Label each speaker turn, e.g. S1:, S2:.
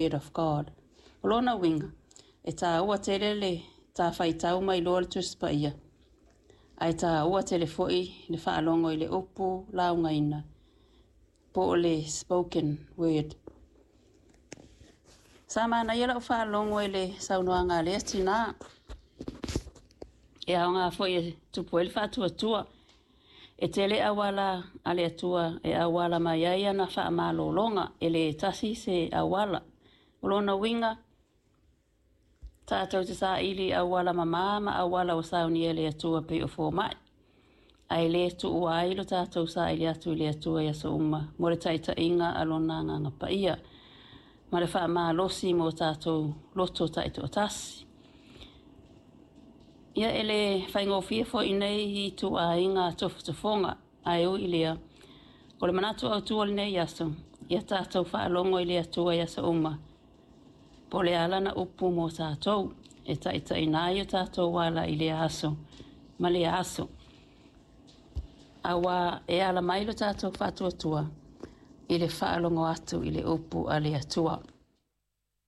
S1: word of God. O lona uiga, e tāua tele le ta faitau ma iloa le Tusi Paia, ae tāua tele foi le faalogo i le upu laugaina po o le spoken word. Sa manaia lau faalogo i le saunoaga a lea tinā, e aoga foi e tupu ai le faatuatua. E tele auala a le Atua e auala mai ai ana faamalologa, e le tasi se auala. O lona uiga, tatou te saili i auala mamā ma auala ua saunia e le Atua pei o fomai, ae le tuua ai lo tatou saili atu i le Atua i aso uma mo le taitaiga a Lona Agaga Paia ma le faamalosi mo tatou loto taitoatasi. Ia e le faigofie foi nei ituaiga tofotofoga, ae ui i lea, o le manatu autu o lenei aso, ia tatou faalogo i le Atua i aso uma, po o le a lana upu mo tatou, e taitaiina ai o tatou ala i lea aso ma lea aso. Auā e ala mai lo tatou faatuatua i le faalogo atu i le upu a le Atua.